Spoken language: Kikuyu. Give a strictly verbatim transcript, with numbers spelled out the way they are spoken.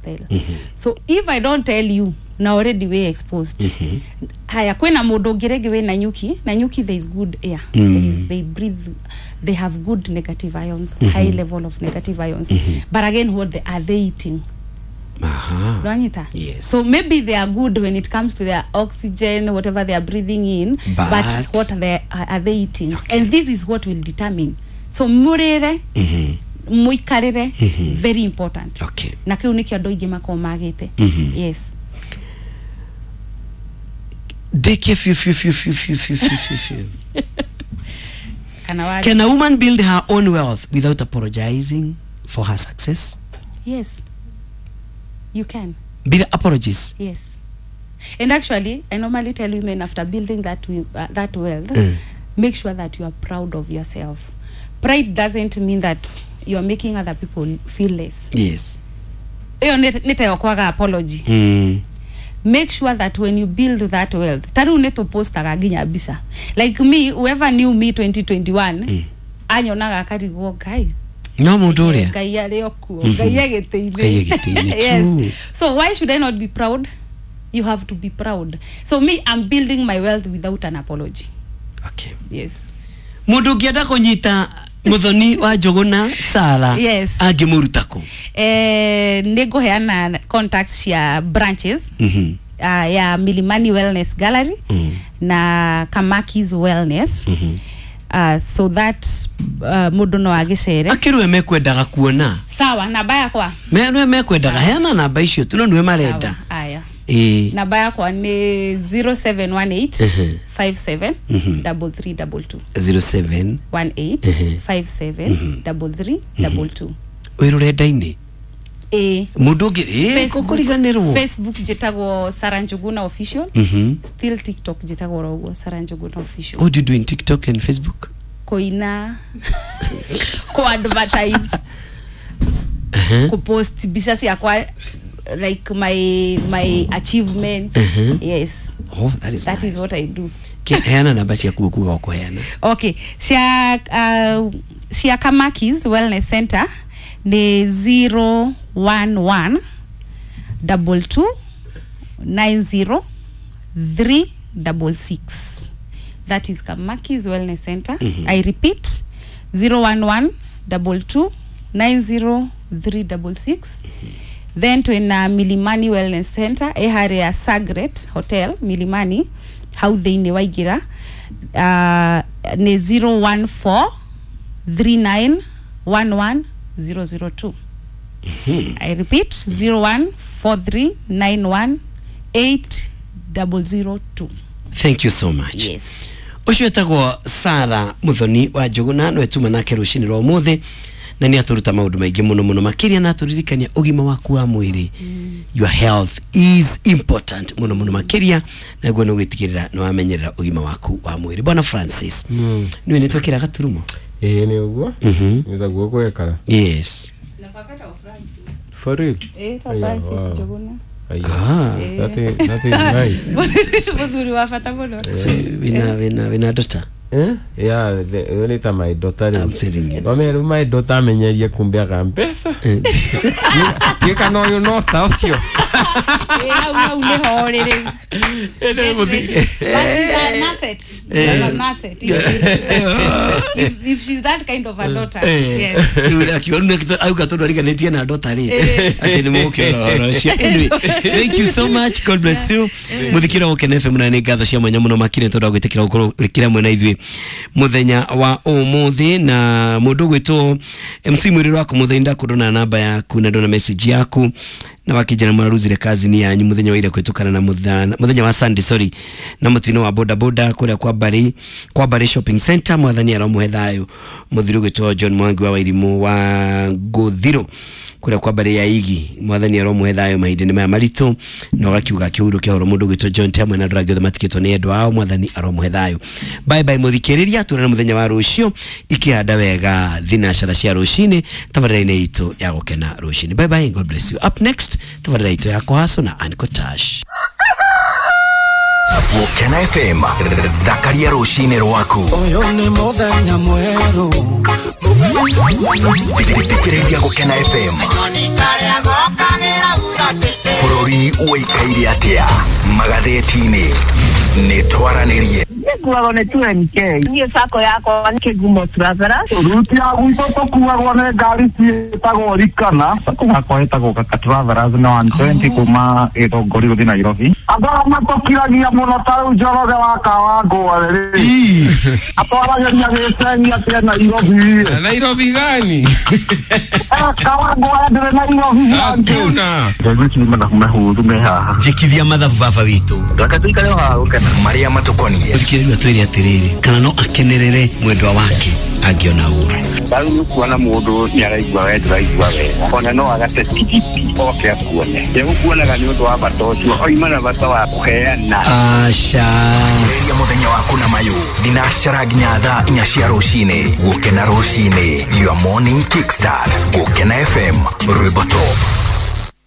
lifestyle. So if I don't tell you na already we exposed. Haya, kwina mundu ungi ringi wina nyuki, na nyuki there is good air. There is, they breathe, they have good negative ions, high level of negative ions. But again, what they, are they eating? Aha. Nwanyita? Yes. So maybe they are good when it comes to their oxygen, whatever they are breathing in, But- but what are they, are they eating? Okay. And this is what will determine. So murire, muikarire, very important. Okay. Na kiu nikio andu aingi makoragwo magite. Yes. Ndĩkie fiu fiu fiu fiu fiu fiu fiu fiu fiu. Kana wa Can a woman build her own wealth without apologizing for her success? Yes. You can. Bila apologies. Yes. And actually, I normally tell women after building that we- uh, that wealth, Mm. make sure that you are proud of yourself. Pride doesn't mean that you are making other people feel less. Yes. Iyo nĩ tayo kwaga apology. Mm. Make sure that when you build that wealth, ta rĩu nĩ tũpostaga nginya mbica. Like me, whoever knew me twenty twenty-one, mm. anyonaga akarigwo, Ngai No mundu uria. Ngai arĩ o kuo, Ngai e gĩtĩ-inĩ. Ngai e gĩtĩ-inĩ, Yes. true. So why should I not be proud? You have to be proud. So me, I'm building my wealth without an apology. Okay. Yes. Mundu ũngĩenda kũnyita Muthoni wa Njũgũna Sara Yes. angĩmũruta kũ? Eh, nĩ ngũheana contacts cia branches Mhm. uh, ya Milimani Wellness Gallery Mm. na Kamakis Wellness, Mhm. uh, so that uh, mũndũ no agĩcere. Akĩrwe mekwendaga kuona. Sawa, namba yakwa. Merwe mekwendaga, heana namba icio tu no nĩwe marenda. Sawa, aya. Ĩĩ. Namba yakwa nĩ zero seven one eight Mhm. five seven Mhm. three three two two. zero seven one eight Mhm. five seven three three two two. Wĩ rũrenda-inĩ? Ĩĩ. Mũndũ ũngĩ ĩĩ Facebook- kũkũriganĩrwo. Facebook njĩtagwo Sarah Njuguna Official. Mhm. Still TikTok njĩtagwo oro ũguo, Sarah Njuguna Official. What do you do in TikTok and Facebook? Kũina, ku-advertise, kupost mbica ciakwa, like my my achievements. Mhm. Yes. Oh, that is That nice. is what I do. Ke- heana namba ciaku ũkuga ũkũheana. Okay, cia uh, cia Kamakis Wellness Center ni zero one one double two nine zero three double six. That is Kamakis Wellness Center. I repeat, zero one one double two nine zero three double six. Then twina Milimani Wellness Center, ĩ harĩa Sagret Hotel Milimani, hau thĩinĩ waingĩra, uh, nĩ zero one four three nine one one zero zero two. I repeat, zero one four three nine one eight zero zero two. Thank you so much. Yes. Ũcio etagwo Sara Muthoni wa Njũgũna, nĩwe tuma nake rũcinĩ rwa ũmũthĩ na nĩ atũruta maũndũ maingĩ mũno mũno makĩria na atũririkania ũgima waku wa mwĩrĩ. Your health is important mũno mũno makĩria, naguo nĩ ũgĩtigĩrĩra nĩ wamenyerera ũgima waku wa mwĩrĩ. Bwana Francis, Mm. nĩwe nĩ twekĩra gaturumo. Ĩĩ, nĩ ũguo. Mhm. Nĩ taguo gwekara. Yes. For real? Eh, Aya, Francis wow. Njuguna. Aya. Ah. That is, that is nice. Mũthuri wa bata mũno. So wina wina wina daughter? Eh? Yeah, the only time my daughter. I'm telling you. Wame rĩu my daughter amenyerie kumbeaga mbeca. Gĩka no ũyũ no ta ũcio. Eh, hau hau nĩho rĩrĩ. But she's an asset. She's an asset. If, if, if she's that kind of a daughter. Yes. Rĩu akiuga rĩu auga tondũ ariganĩtie na ndota rĩ atĩ nĩ mũgũkĩona ũhoro ũcio. Anyway, thank you so much, God bless you. Mũthikĩra Gũkena F M, na nĩ ngatho cia mwanya mũno makĩria tondũ wa gwĩtĩkĩra gũkorwo ũrĩkĩra mwena ithuĩ mũthenya wa ũmũthĩ. Na mũndũ ũgwĩtwo M C mwĩrĩ waku mũthenya ndakũndona namba yaku na ndona message yaku na wakijana mwaruzire kazi ni yanyu muthenya wa ira kwitukana na muthana muthenya wa Sunday, sorry, na mutino wa boda boda kuria kwa Bari kwa Bari Shopping Center. Mwathani aromuhe thayo. Muthiri gwitwo John Mwangi wa Wairimu wa Nguthiro kuria kwa Bari ya Igi, mwathani aromuhe thayo mahinda-inĩ maya maritũ. Na ũgakiuga akĩhurũkia horo mũndũ gwitwo John Temwe na andũ angĩ othe matikĩtwo nĩ endwa ao, mwathani aromuhe thayo. Bye bye mũthikĩrĩria, tuonane mũthenya wa rũciũ ikĩhanda wega thinacara cia rũcinĩ tabarĩra-inĩ itũ ya Gũkena Rũcinĩ. Bye bye, God bless you. Up next, tabarĩra itũ ya Kũhaco na Anko Tash. Gũkena F M, thakaria rũcinĩ rwaku. Ũyũ nĩ mũthenya mwerũ. Thikĩrĩria Gũkena F M. Bũrũri ũikaire atĩa magathĩti-inĩ nĩ twaranĩrie Nĩnguagwo nĩ two M K. Niĩ sacco yakwa nĩ Kĩgumo Travelers. Ruti ya gwitũ tũkuagwo nĩ ngari ciĩtagwo Rikana. Sacco yakwa ĩtagwo Kaka Travelers na one twenty kuma Gĩthũngũri gũthiĩ Nairobi. Andũ arĩa matũkiragia mũno ta rĩu Njoroge wa Kawangware rĩ, atwaragĩria gĩcegi atĩ e Nairobi. Na Nairobi gani? Eh, Kawangware ndĩrĩ Nairobi. Hakuna. Ndaigua ici nĩ mathabu mahũthũ me haha. Njĩkithia mathabu baba witũ. Reke tũikare o haha gũkena. Marĩa matũkoniĩ. Mũthikĩrĩria atwĩre atĩrĩrĩ, kana no akenerere mwendwa wake angĩona ũru. Rĩu nĩ ũkuona mũndũ nĩ araigua we ndũraigua wega, ona no agate tigiti oke akuone. Egũkuonaga nĩ ũndũ wa bata ũcio, oima na bata wa kũheana. Aca. Ambĩrĩria mũthenya waku na mayũ thinacara nginya thaa inya cia rũcinĩ. Gũkena rũcinĩ, your morning kickstart. Gũkena F M, rwĩmbo top.